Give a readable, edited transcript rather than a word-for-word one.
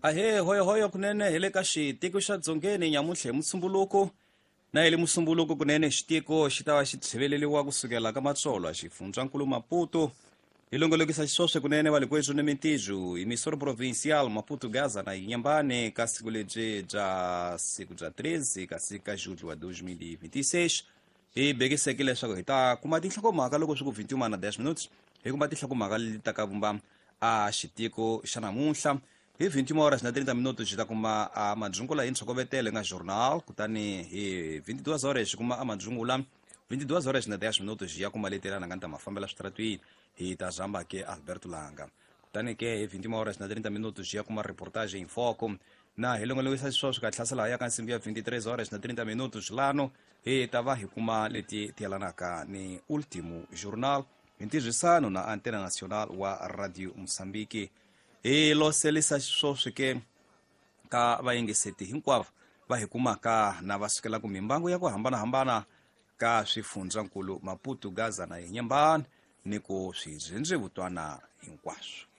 Ahee, hoyohoyo kunene hi le ka xitiko xa Dzongeni nyamuntlha hi Musumbuluko. Na hi le Musumbuluko kunene xitiko xi ta va xi tshiveleriwa kusukela ka Matsolo xifundzankulu Maputo. Hi longolokisa xiswoswe kunene va le kwethu ni mintijo emissora provincial Maputo Gaza na Inhambane ka siku lebyi bya siku bya 13 ka siku ka julho wa 2026. Hi bekisekile leswaku hi ta kuma tinhlokomhaka loko swi ku 21 na 10 minutes, hi kuma tinhlokomhaka leti ta ka vumba a xitiko xa namuntlha. Hi 21 horas na 30 minutos xi ta kuma a madzungula hi ntshokovetelo nga journal, kutani hi 22 horas xi kuma a madzungula 22 horas na 10 minutos xi ya kuma leti lana nga ni ta mafambela switaratwini hi ta zamba ke Alberto Langa. Kutani ke hi 21 horas na 30 minutos xi ya kuma reportage in foco na hi longolokisa xisweswo ka hlasela ya ka nsimbi ya 23 horas na 30 minutos lano hi ta va hi kuma leti ti yelanaka ni ultimo journal hi ntirhisano na Antena Nacional wa Radio Mozambique. Hi loselisa xisweswo ke ka vayingiseti hinkwavo va hi kumaka na va sukelaka mimbangu ya ku hambanahambana ka swifundzankulu Maputo, Gaza na Inhambane ni ku swidzhendzevutwana hinkwaswo.